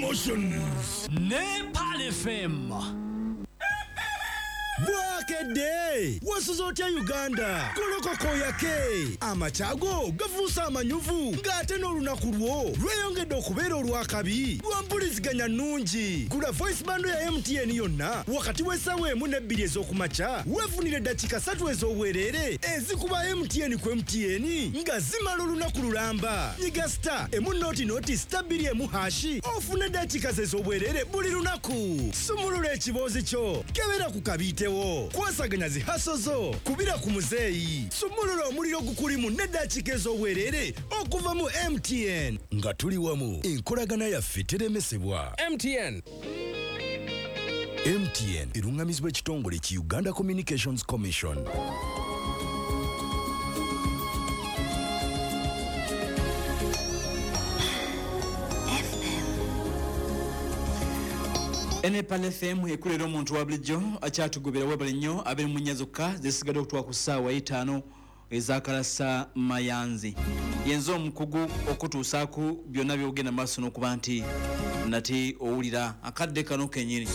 Emotions. Ne Pearl FM. Bwakedde wasuze otya Uganda? Golokoka oyake, amakya go gafuuse amanyuvu, ng'ate n'olunaku lwo lweyongedde okubeera olw'akabi lwa mpuliziganya nnungi. Gula voice bundle ya MTN yonna wakati w'essaawa 1 ne 2 ez'okumakya, weefunire eddakiika 3 ez'obwereere ezikuba MTN ku MTN nga zimala olunaku lulamba. Nyiga star emu noti noti star bbiri emu hashi ofune eddakiika ze ez'obwereere buli lunaku. Sumulula ekiboozi kyo, kebera ku kabiitewo, kwasaganya zi haso zo, kubira ku muzeeyi, sumulula omuliro gukulimu n'eddakiika ez'obwereere okuva mu MTN. Nga tuli wamu, enkolagana yaffe teremesebwa. MTN. MTN erungamizibwa ekitongole ki Uganda Communications Commission. Ene Pearl FM ekulera omuntu wa bulijjo akyatugobera webale nnyo abiri mu nnya zokka zisigadde okutuwa ku ssaawa 5 ezakalasa mayanzi. Yenze omukugu okutuusaako byonna by'ogenda maaso n'okuba nti nate owulira akadde kano kennyini.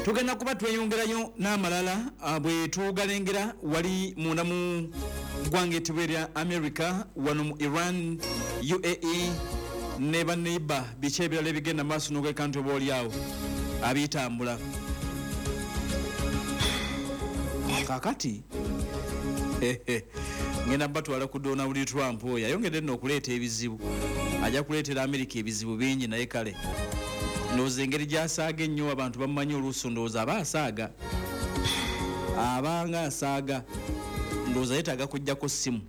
Tugenda kuba tweyongerayo n'amalala bwe tugalengera wali munda mu ggwanga ettibwa erya America, wano mu Iran, UAE ne baneiba, biki ebirala ebigenda maaso n'okweka nti oba oli awo abitambula. Kaakati ngenda batwala ku Donald Trump oyo ayongedde nno okuleeta ebizibu, ajja kuleetera America ebizibu bingi, naye kale ndowooza engeri gy'asaaga ennyo abantu bamumanyi oluusi, ndowooza aba asaaga, abanga asaaga, ndowooza yeetaaga kuggyako ssimu.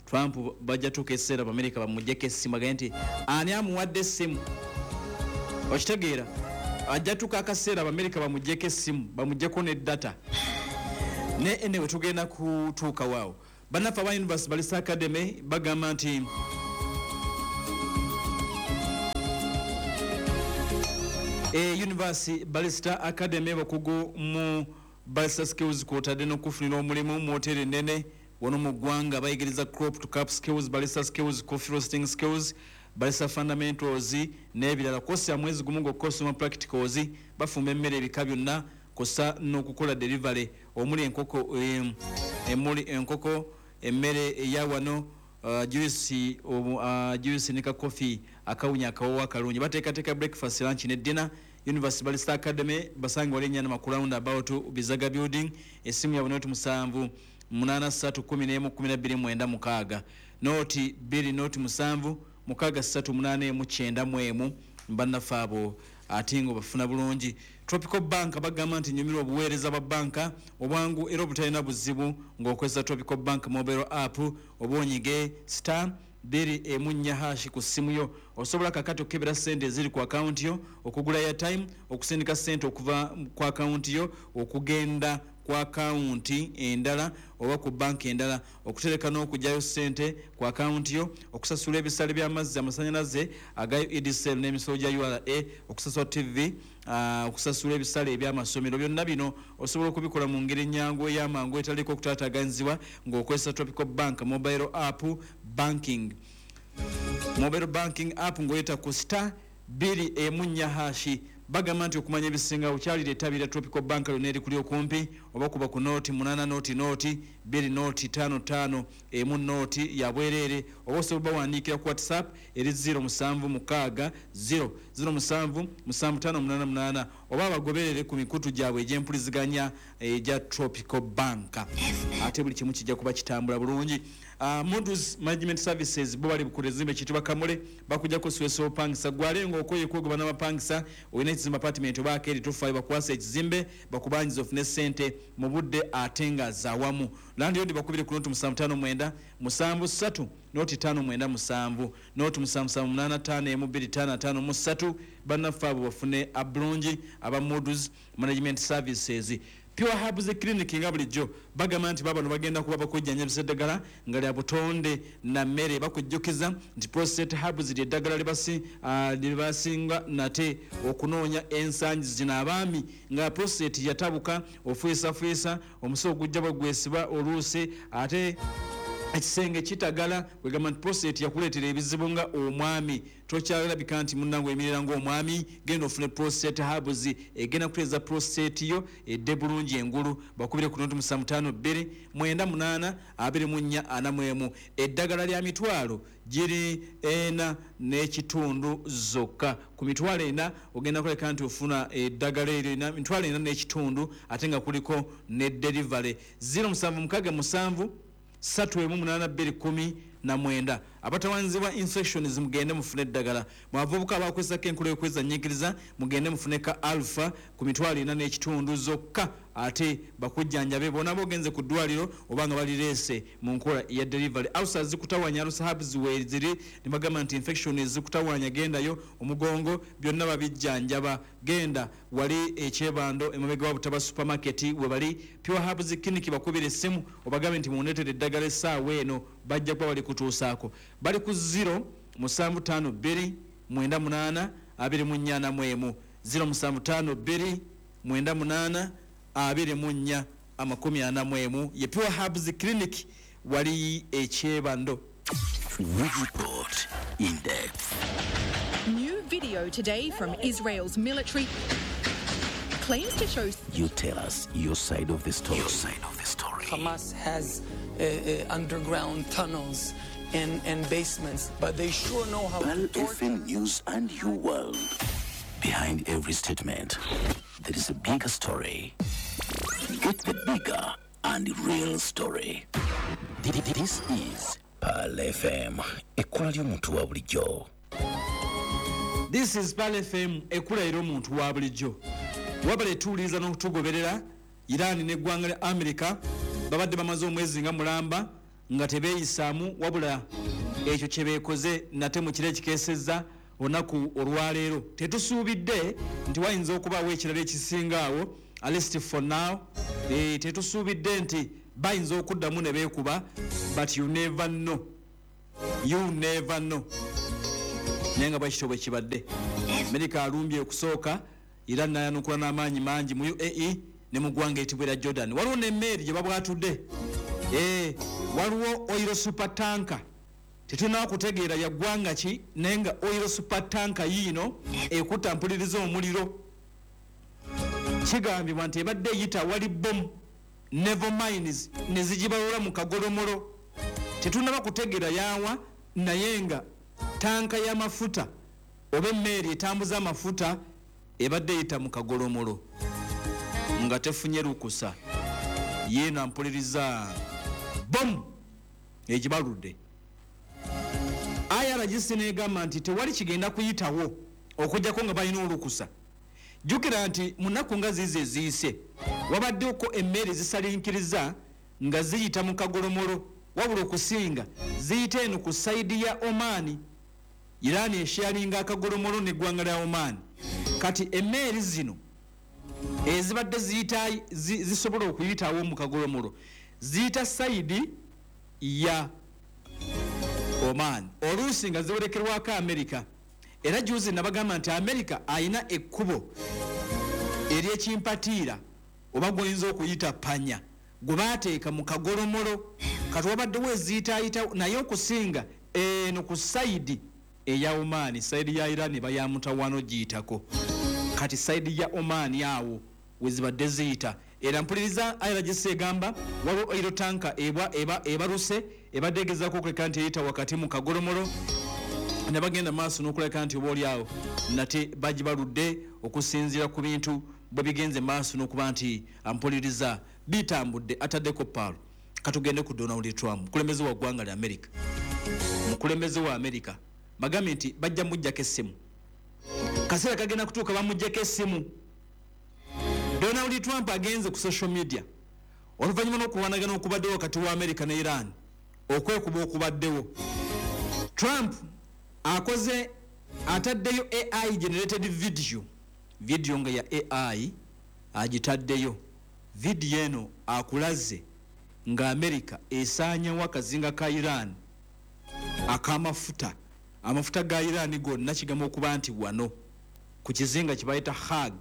Trump bajja tuuka ekiseera Abamerika bamuggyeko essimu, agambe nti ani amuwadde essimu, okitegeera? Ajja tuuka akaseera Abamerika bamuggyeko essimu, bamuggyeko ne data. Ne anyway tugenda kutuuka waawo. Bannaffe aba University Barista Academy bagamba nti University Barista Academy bakugu mu barista skills kw'otadde n'okufunira omulimu mu woteeri ennene wano mu ggwanga. Bayigiriza crop to cup skills, barista skills, coffee roasting skills, barista fundamentals n'ebirala. Kosi ya mwezi gumu gwokka osoma practicals, bafumba emmere ebika byonna kw'ossa n'okukola delivery omuli enkoko, emuli enkoko, emmere eya wano, juice, juice ne ka coffee akawunya akawoowo akalungi. Bateekateeka breakfast, lunch ne dinner. University Barista Academy basange wali Ennyana Makula roundabout Bizaga building. Essimu yaabwe noti 7 8 3 11 12 9 6, noti 2 noti 7 6 3 8 1 9 1. Bannaffe abo ate nga bafuna bulungi. Tropical Bank bagamba nti nyumirwa obuweereza bwa banka obwangu era obutalina buzibu ng'okozesa Tropical Bank mobile app, oba onyige star bbiri emu nnya hashi ku ssimu yo. Osobola kakati okukebera ssente eziri ku akawunti yo, okugula airtime, okusindika ssente okuva ku akawunti yo okugenda ku akawunti endala oba ku banka endala, okutereka n'okugyayo ssente ku akawunti yo, okusasula ebisale by'amazzi, amasannyalaze aga UEDCL n'emisolo gya URA, okusasula TV, okusasula ebisale eby'amasomero. Byonna bino osobola okubikola mu ngeri ennyangu ey'amangu etaliiko okutaataaganyizibwa ng'okozesa Tropical Bank mobile app banking. Mobile banking app ng'oyita ku star bbiri emu nnya hashi. Bagamba nti okumanya ebisinga okyalira ettabi lya Tropical Bank lyonna erikuli okumpi, oba kuba ku noti 8 noti noti 2 noti 5 5 emu noti ya bwereere, oba osobola bawandiikira ku WhatsApp eri 0 7 6 0 0 7 7 5 8 8, oba abagoberere ku mikutu gyabwe egy'empuliziganya egya Tropical Bank. Ate buli kimu kijja kuba kitambula bulungi. Modus Management Services bo bali ku lezimbe kitibwa Kamule, bakujjako siwesa opangisa gwale ng'okoye kwegoba n'abapangisa, olina ekizimbe apartment oba akeeri, tofaayo bakwasa ekizimbe bakubanjiza ofune ssente mu budde ate nga zawamu. Landlord bakubire ku noti 759 73 noti 5 9 7, noti 7 7 8 5 emu 2 5 5 mu 3. Bannaffe abo bafune abulungi aba Modus Management Services. Pure Herbs Clinic nga bulijjo bagamba nti babano bagenda kuba bakujjanjabisa eddagala nga lya butonde na mmere. Bakujjukiza nti Prostate Herbs lye ddagala lyebasinga nate okunoonya ensangi zino. Abaami nga prostate yatabuka, ofuisafuisa, omusa ogujja bwe gwesiba oluusi, ate Ekisenge kitagala, kwegamba nti prostate yakuleetera ebizibu nga omwami tokyalabika nti munnange oyimirira ng'omwami. Genda ofune Prostate Herbs, egenda kutereeza prostate yo edde bulungi engulu. Bakubire ku 0752 98 24 41. Eddagala lya mitwalo giri 4.5 zokka. Ku 40,000 ogenda kuleka nti ofuna eddagala eryo, 4,500, ate nga kuliko ne delivery. 0767 318 219. Abatawanzibwa infections, mugende mufune eddagala. Mwavubuka abakozesako enkola y'okwezanyiikiriza, mugende mufune ka Alpha ku 4,500 zokka, ate bakujjanjabe bonna bogenze ku ddwaliro oba nga balireese mu nkola ya delivery. Ulcers zikutawanya, Alpha Herbs weeziri. Ne bagamba nti infection zikutawanya, gendayo. Omugongo, byonna babijjanjaba. Genda wali ekyebando, emabega wa Butaba Supermarket we bali, Pure Herbs Clinic. Bakubira essimu obagambe nti mundeetere eddagala essaawa eno, bajja kuba bali kutuusaako. Bali ku 0 752 98 24 41, 0752 98 24 41. Ye Pure Herbs Clinic, wali ekyebando. We report in depth. New video today from Israel's military claims to show You tell us your side of the story. Your side of the story. Hamas has underground tunnels and basements, but they sure know how Pearl to torture. FM News and your world. Behind every statement, there is a bigger story. Get the bigger and real story. This is Pearl FM. Ekkola ly'omuntu wa bulijjo. This is Pearl FM, ekula era omuntu wa bulijjo. Wabala etuwuliriza n'okutugoberera. Iran n'eggwanga lya America babadde bamaze omwezi nga mulamba nga tebeeyisaamu, wabula ekyo kye beekoze nate mu kiro ekikeesezza olunaku olwaleero, tetusuubidde nti wayinza okubaawo ekirala ekisinga awo. At least for now, tetusuubidde nti bayinza okuddamu ne beekuba, but you never know, you never know. Naye nga bwekityo bwe kibadde, Amerika alumbye okusooka, era nayanukula n'amaanyi mangi mu UAE ne mu ggwanga eritibwa erya Jordan. Waliwo n'emmeeri gye babwatudde. Waliwo oil super tanker, tetulina kutegeera ya ggwanga ki, naye nga oil super tanker yiino ekutta mpuliriza omuliro. Kigambibwa nti ebadde eyita wali bomu naval mines ne zigibalula mu kagolomolo. Tetunaba kutegeera yawa, naye nga tanka y'amafuta oba emmeeri etambuza amafuta ebadde eyita mu kagolomolo nga tefunye lukusa. Yeena mpuliriza bomu egibaludde. IRGC negamba nti tewali kigenda kuyitawo okujjako nga balina olukusa. Jjukira nti mu nnaku nga ziizo eziyise wabaddeko emmere zisalinkiriza nga ziyita mu kagolomolo, wabula okusinga ziyita eno ku side ya Omaani. Iran esharinga akagolomolo neggwanga lya Omaani. Kati emmeeri zino ezibadde ziyita zisobola okuyitawo mu kagolomolo ziyita side ya Oman, oluusi nga ziwerekerwako Amerika. Era juzi nabagamba nti Amerika ayina ekkubo eryekimpatiira oba gwoyinza okuyita panya gwe baateeka mu kagolomolo. Kati wabaddewo eziyitaayita, naye okusinga eno ku side eya Omaani. Side ya Iran bayamutawano giyitako, kati side ya Omaani awo wezibadde ziyita. Era mpuliriza, IRGC egamba waliwo oil tanker ebaluse ebadde egezaako okuleka nti eyita wakati mu kagolomolo, ne bagenda maaso n'okuleka nti oba oliawo nate bagibaludde, okusinziira ku bintu bwe bigenze maaso n'okuba nti ampuliriza bitambudde. Ataddeko paalo. Katugende ku Donald Trump, mukulembeze wa ggwanga lya America. Mukulembeze wa America bagambye nti bajja muggyako essimu. Kaseera kagenda kutuuka bamuggyako essimu. Donald Trump agenze ku social media oluvannyuma n'okulwanagana okubaddewo wakati wa America ne Iran, okwekuba okubaddewo. Trump akoze, ataddeyo AI generated video, video nga ya AI agitaddeyo. Video eno akulaze nga America esaanyawo akazinga ka Iran ak'amafuta. Amafuta ga Iran gonna kigamba okuba nti wano ku kizinga kibayita Hag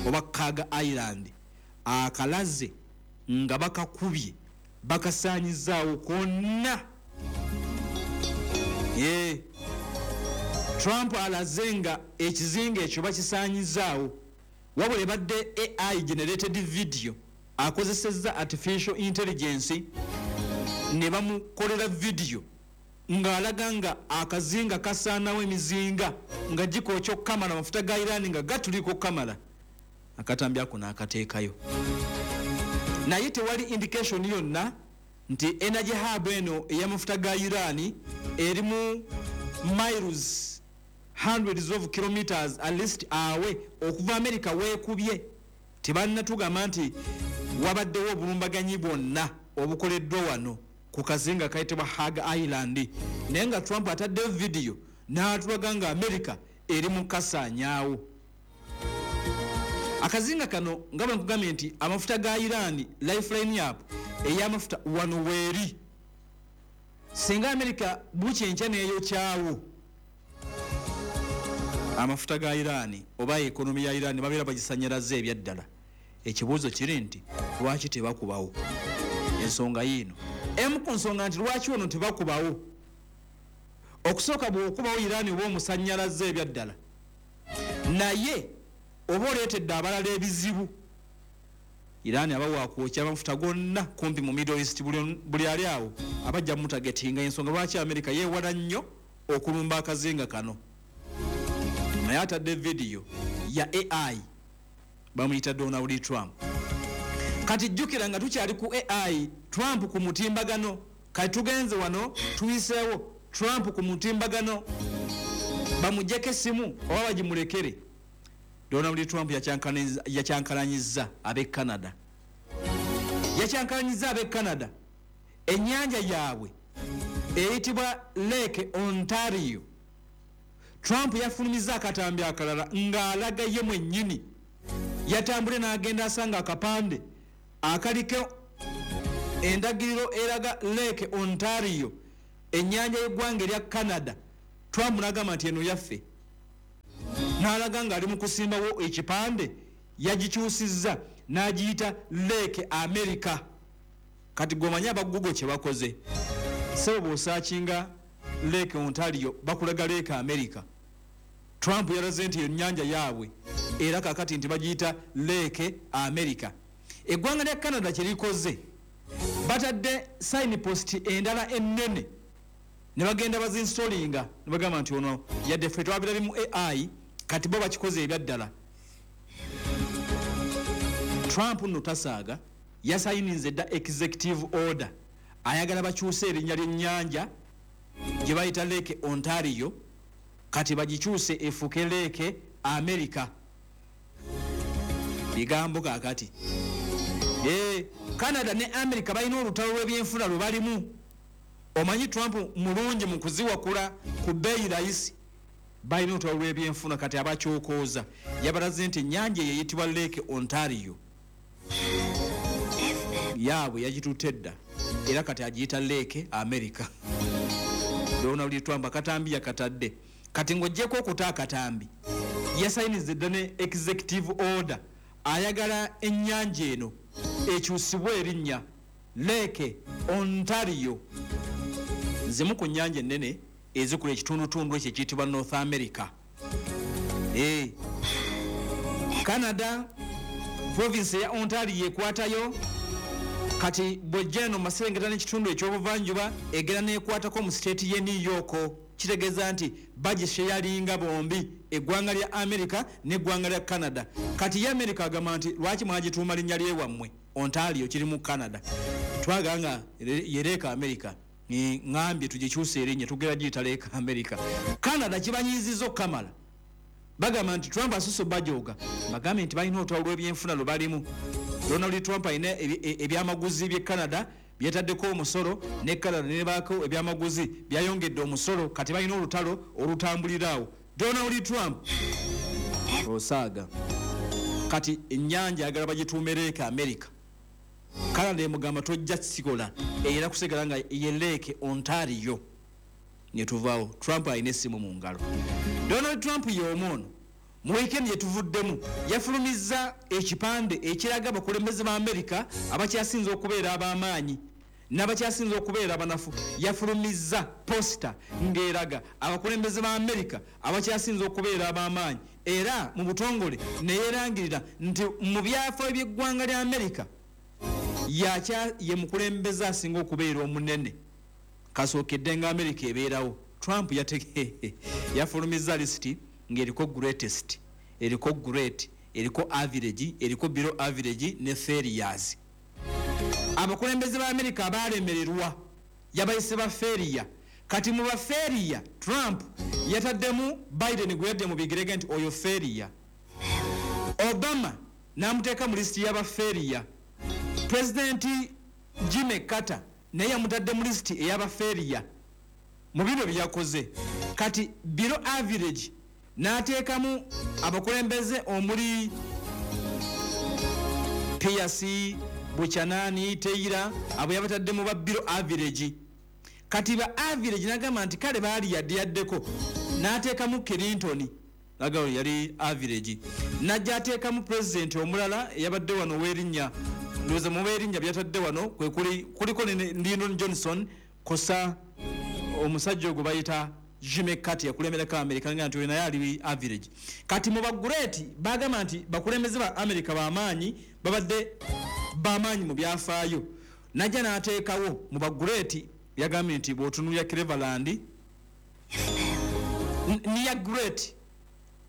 oba Kaga Island, akalaze nga bakakubye. Bakasaanyizaawo konna. Ye Trump alaze nga ekizinga ekyo bakisaanyizaawo, wabula ebadde AI generated video, akozesezza artificial intelligence ne bamukolera video ng'alaga nga akazinga kasaanawo emizinga nga gikookya okukamala, amafuta ga Iran nga gatuliko okukamala. Akatambi ako n'akateekayo, naye tewali indication yonna nti energy hub eno ey'amafuta ga Iran erimu miles, hundreds of kilometers at least awe okuva America weekubye. Tebannatugamba nti wabaddewo obulumbaganyi bwonna obukoleddwa wano ku kazinga kayitibwa Hag Island, naye nga Trump ataddeyo vidiyo n'atulaga nga America eri mu kasaanyaawo akazinga kano. Nga bwe nkugambye nti amafuta ga Iran, lifeline yap ey'amafuta wano weeri, singa America bukyenkya neeyokyawo amafuta ga Iran oba economy ya Iran, babeera bagisanyalaze ebyaddala. Ekibuuzo kiri nti lwaki tebakubawo? Ensonga yiino, emu ku nsonga nti lwaki wano tebakubawo: okusooka, bw'okubawo Iran oba omusanyalaze ebyaddala, naye oba oleetedde abalala ebizibu. Iran aba wakwokya amafuta gonna kumpi mu Middle East, buli ali awo abajja mutagetinga. Ensonga lwaki America yeewala nnyo okulumba akazinga kano. Naye atadde vidiyo ya AI, bamuyita Donald Trump. Kati jjukira nga tukyali ku AI, Trump ku mutimbagano. Kati tugenze wano, tuyiseewo Trump ku mutimbagano, bamugjeko essimu oba bagimulekere. Donald Trump yakyankalanyiza ab'e Canada, yakyankalanyiza ab'e Canada. Ennyanja yaabwe eyitibwa Lake Ontario. Trump yafulumiza akatambi akalala ng'alaga ye mwennyini yatambule n'agenda asanga akapande akaliko endagiriro eraga Lake Ontario, ennyanja y'eggwanga erya Canada. Trump n'agamba nti eno yaffe, n'alaga ng'ali mu kusimbawo ekipande, yagikyusizza n'agiyita Lake America. Kati gweomanyi aba Google kye bakoze, sebo, bw'osearchinga Lake Ontario bakulaga Lake America. Trump yalaze nti ennyanja yaabwe era kakati nti bagiyita Lake America. Eggwanga lya Canada kyerikoze, batadde signpost endala ennene ne bagenda bazinstallinga ne bagamba nti ono yadde ffe twabirabye mu AI, kati bo bakikoze ebyaddala. Trump nno tasaaga, yasayininze dda executive order, ayagala bakyuse erinnya ly'ennyanja gye bayita Lake Ontario, kati bagikyuse efuuke Lake America. Bigambo kakati. Canada ne America balina olutalo lw'ebyenfuna lwe balimu. Omanyi Trump mulungi mu kuziwakula ku bbeeyi layisi. Balina olutalo lw'ebyenfuna. Kati abakyokooza, yabalaze nti ennyanja eyo eyitibwa Lake Ontario yaabwe yagitutte dda, era kati agiyita Lake America. Donald Trump akatambi yakatadde. Kati ng'oggyeko okuta akatambi, yasayiniza dda ne executive order, ayagala ennyanja eno ekyusibwe erinnya Lake Ontario. Zimu ku nnyanja ennene ezikola ekitundutundu ekyo ekiyitibwa North America. Canada, province ya Ontario ekwatayo. Kati bwejja eno maserengeta n'ekitundu ekyobuvanjuba, egera nekwatako mu state ye New York. Kitegeeza nti bagisharinga bombi, eggwanga lya America n'eggwanga lya Canada. Kati ye America agamba nti lwaki mwagituuma linnya lyewammwe Ontario, kiri mu Canada, twagala nga ye Lake America. Ŋambye tugikyuse erinnya, tugera giyita Lake America. Canada kibanyiiziza okukamala, bagamba nti Trump asusse bajoga. Bagambye nti balina olutalo lw'ebyenfuna lwe balimu. Donald Trump alina ebyamaguzi by'e Canada byetaddeko omusolo, ne Canada nebaako ebyamaguzi byayongedde omusolo. Kati balina olutalo olutambulira awo. Donald Trump osaaga. Kati ennyanja ayagala bagituume Lake America. Canada emugamba tojja kikola, era kusigala nga ye Lake Ontario. Netuvaawo, Trump alina essimu mu ngalo. Donald Trump y'omu ono mu wiikendi gyetuvuddemu yafulumizza ekipande ekiraga abakulembeze ba Amerika abakyasinze okubeera ab'amaanyi. N'abakyasinze okubeera abanafu. Yafulumizza poster ng'eraga abakulembeze ba Amerika abakyasinze okubeera ab'amaanyi, era mu butongole neyerangirira nti mu byafaayo by'eggwanga lya Amerika ye mukulembeze asinga okubeera omunene kasookedde nga Amerika ebeerawo. Trump yafulumizza lisiti ng'eriko greatest, eriko great, eriko average, eriko below average ne failures. Abakulembeze ba Amerika abalemererwa yabayise ba failure. Kati mu ba failure Trump yataddemu Biden gwe yadde mu bigirege nti oyo failure. Obama n'amuteeka mu lisiti y'aba failure. President Jimmy Carter naye yamutadde mu lisiti ey'aba failure mu bino bye yakoze. Kati below average n'ateekamu abakulembeze omuli Pierce, Buchanan, Taylor, abo yabatadde mu ba below average. Kati ba average n'agamba nti kale baali yadde yaddeko, n'ateekamu Clinton, n'agamba yali average. N'ajja ateekamu president omulala eyabadde wano w'erinnya, ndowooza mu b'erinnya byatadde wano kwe kuliko ne Lyndon Johnson, kosa omusajja ogwo bayita Jimmy Carter yakulemberako Amerika, nga nti oyo naye ali average. Kati mu ba great bagamba nti bakulembeze ba Amerika b'amaanyi, babadde b'amaanyi mu byafaayo. Najja n'ateekawo mu ba great, yagambye nti bw'otunuulira Cleveland niya great,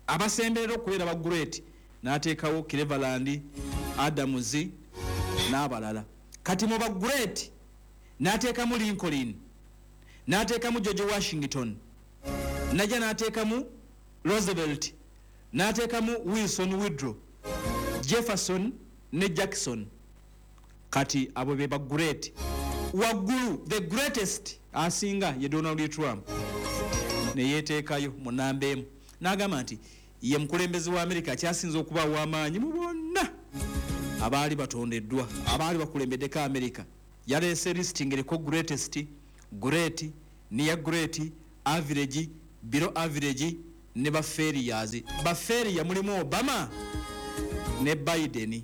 abasemberera okubeera ba great, n'ateekawo Cleveland, Adams n'abalala. Kati mu ba great n'ateekamu Lincoln, n'ateekamu George Washington, najja n'ateekamu Roosevelt, n'ateekamu Wilson, Woodrow, Jefferson ne Jackson. Kati abo be ba great. Waggulu the greatest asinga ye Donald Trump, ne yeeteekayo mu namba emu, n'agamba nti ye mukulembeze wa Amerika akyasinze okuba ow'amaanyi mu bonna abaali batondeddwa, abaali bakulembeddeko Amerika. Yaleese listing eriko greatest, great, near great, average, below average ne ba failures. Ba failure mulimu Obama ne Biden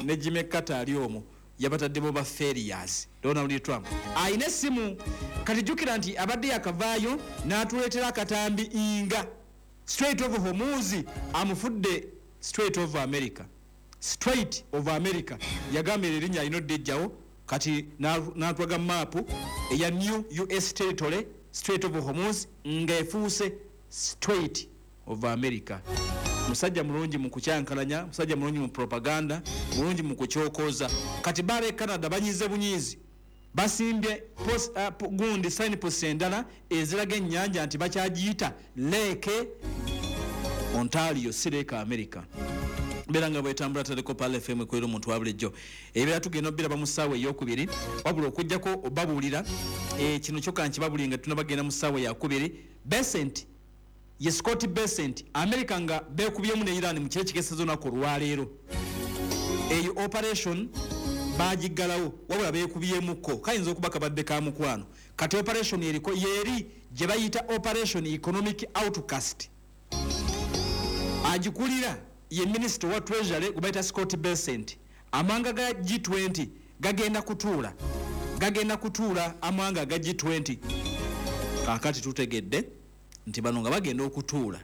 ne Jimmy Carter ali omwo, yabataddemu ba failures. Donald Trump ayina essimu. Kati jjukira nti abadde yakavaayo n'atuleetera akatambi nga Strait of Hormuz amufudde Strait of America. Strait of America yagambye erinnya alina oddejjawo. Kati n'atwaga maapu eya new US territory, Strait of Hormuz ng'efuuse Strait of America. Musajja mulungi mu kukyankalanya, musajja mulungi mu propaganda, mulungi mu kukyokoza. Kati baaba e Canada banyize bunyiizi, basimbye gundi signpost endala eziraga ennyanja nti bakyagiyita Lake Ontario, si Lake America. Mbeera nga bwetambula taliko Pearl FM ekolera omuntu wa bulijjo. Ebibeera tugenda obbiraba mu ssaawa eyokubiri, wabula okuggyako obabuulira kino kyokka nkibabulire nga tunabagenda mu ssaawa eyakubiri. Bessent ye Scott Bessent, America nga beekubyemu ne Iran mu kiro ekikeeseza olunaku olwaleero. Eyo operation bagiggalawo, wabula beekubyemukko, kayinza okuba kabadde ka mukwano. Kati operation eriko yeeri gye bayita Operation Economic Outcast. Agikulira ye minisita wa Treasury gwe bayita Scott Bessent. Amawanga ga G20 gagenda kutuula, gagenda kutuula amawanga ga G20. Kaakati tutegedde nti bano nga bagenda okutuula,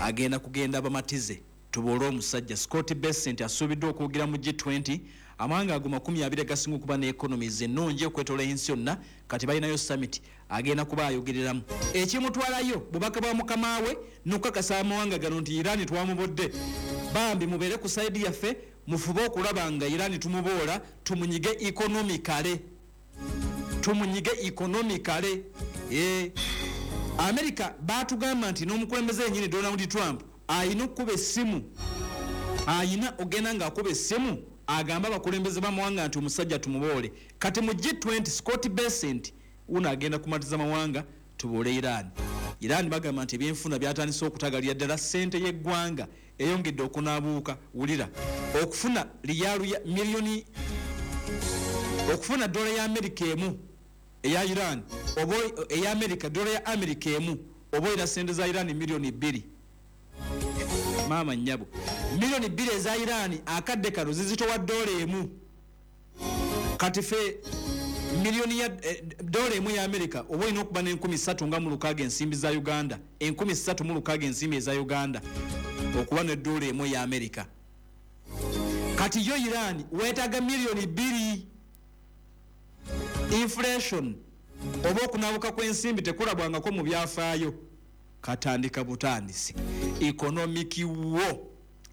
agenda kugenda bamatize tuboole omusajja. Scott Bessent asuubiddwa okwogera mu G20, amawanga ago 20 gasinga okuba ne economies ennungi okwetoola ensi yonna. Kati balinayo summit, agenda kuba ayogereramu. Ekimutwalayo bubaka bwa mukama we n'okukakasa amawanga gano nti Iran twamubodde, bambi mubeere ku side yaffe, mufube okulaba nga Iran tumuboola, tumunyige economically, tumunyige economically. America batugamba nti n'omukulembeze yennyini Donald Trump ayina okukuba essimu, ayina ogenda ng'akuba essimu agamba abakulembeze b'amawanga nti omusajja tumuboole. Kati mu G20 Scott Bessent uno agenda kumatiza mawanga tuboole Iran. Iran bagamba nti ebyenfuna byatandise okutagalira ddala, ssente y'eggwanga eyongedde okunaabuuka. Wulira, okufuna riyalu ya miliyoni, okufuna dola ya Amerika emu eya Iran, oba eya Amerika, dola ya Amerika emu oba oyina ssente za Iran 2 miliyoni. Maama nnyabo, 2 miliyoni eza Iran akadde kano zizitowa dola emu. Kati fe miliyoni ya dola emu ya Amerika oba olina okuba n'306 ensimbi za Uganda, 306 ensimbi eza Uganda okuba ne dola emu ya Amerika. Kati yo Iran weetaaga miliyoni 2. Inflation oba okunabuka kw'ensimbi tekulabwangako mu byafaayo, katandika butandisi. Economic war,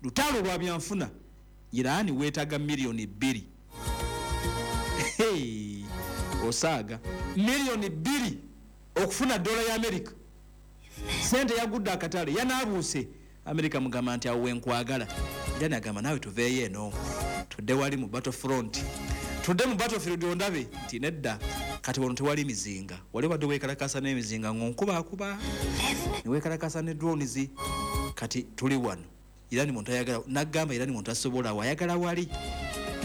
lutalo lwa byanfuna. Iran weetaaga miliyoni 2. Hey, osaaga miliyoni 2 okufuna dola ya Amerika. Sente yagudde akatale, yanaabuuse. Amerika mugamba nti awo wenkwagala. Iran agamba naawe tuveeyo eno tudde wali mu battle front, tudde mu battlefield ondabe nti nedda. Kati wano tewali mizinga, wali badde weekalakasa n'emizinga ng'onkubakuba neweekalakasa ne drones. Kati tuli wano, Irani muntu ayagala, nagamba Irani muntu asobola wayagala wali.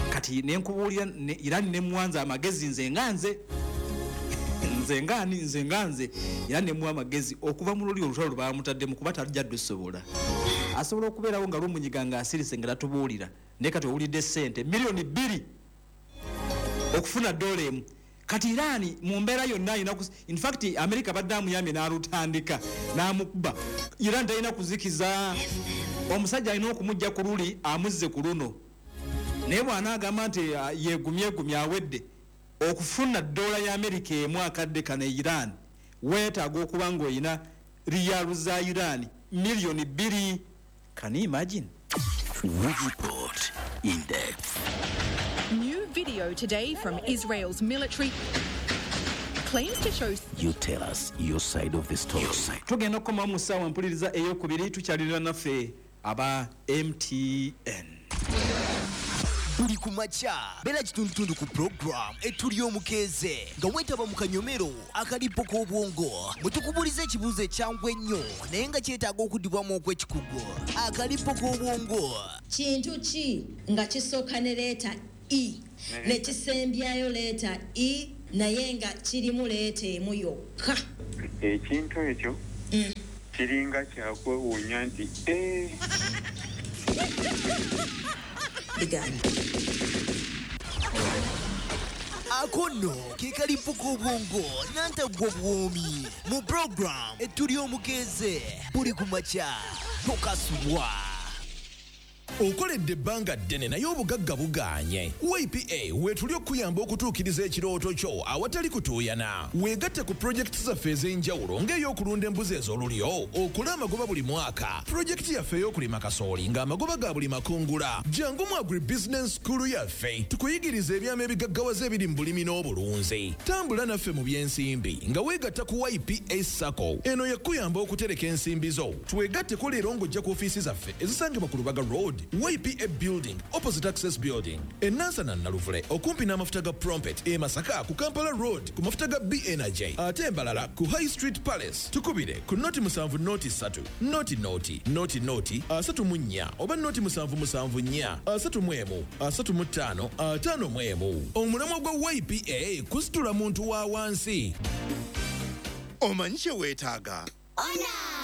Kati nenkubuulira Irani nemuwanza amagezi, nze nga nze, nze ngaani, nze nga nze, era nemuwa amagezi okuva mu luli olutalo lwe bamutaddemu, kuba tajja dusobola. Asobola okubeerawo nga lumunyiga ng'asirise nga tatubuulira. Naye kati owulidde sente miliyoni 2 okufuna dola emu. Kati Irani mu mbeera yonna alina, in fact America badde amuyambye n'alutandika n'amukuba. Iran talina kuzikiza, omusajja alina okumujja ku luli amuzze ku luno. Naye bw'anaagamba nti yegumyegumye, awedde. Okufuna dola ya Amerika emu akadde kano e Iran weetaaga okuba ng'olina riyalu za Iran miliyoni 2. Can you imagine? We report in depth. New video today from Israel's military claims to show You tell us your side of the story. Tugenda okukomawo mu ssaawa mpuliriza eyokubiri. Tukyalirira naffe aba MTN. Buli ku makya beera kitundutundu ku puroguramu Etuli Omukeeze nga weetaba mu kanyomero akalipo k'obwongo, bwe tukubuuliza ekibuuzo ekyangu ennyo naye nga kyetaaga okuddibwamu okw'ekikugu. Akalipo k'obwongo. Kintu ki nga kisooka ne letter E ne kisembyayo letter E, naye nga kirimu letter emu yokka? Ekintu ekyo kiringa kyakwewuunya nti "Eh, Bigaana. Ako nno ke kalipo k'obwongo nantaggwa buwoomi mu puroguramu Etuli Omukeeze buli ku makya. Tokasubwa. Okoledde ebbanga ddene naye obugagga bugaanye. YPA weetuli okuyamba okutuukiriza ekirooto kyo awatali kutuuyana. Weegatte ku pulojekiti zaffe ez'enjawulo ng'ey'okulunda embuzi ez'olulyo okole amagoba buli mwaka, pulojekiti yaffe ey'okulima kasooli ng'amagoba ga buli makungula. Jangu mu Agribusiness School yaffe tukuyigiriza ebyama ebigaggawaza ebiri mu bulimi n'obulunzi. Tambula naffe mu by'ensimbi nga weegatta ku YPA SACCO. Eno yakuyamba okutereka ensimbi zo. Twegatteko leero ng'ojja ku ofiisi zaffe ezisangibwa ku Lubaga Road, YPA Building, opposite Access Building, enansana Naluvule okumpi n'amafuta ga Prompet, e Masaka ku Kampala Road ku mafuta ga B Energy, ate embalala ku High Street Palace. Tukubire ku 070 0 3 0 0 0 0 34 oba 077 4 31 35 51. Omulamwa gwa YPA kusitula muntu wa wansi. Omanyi kye weetaaga?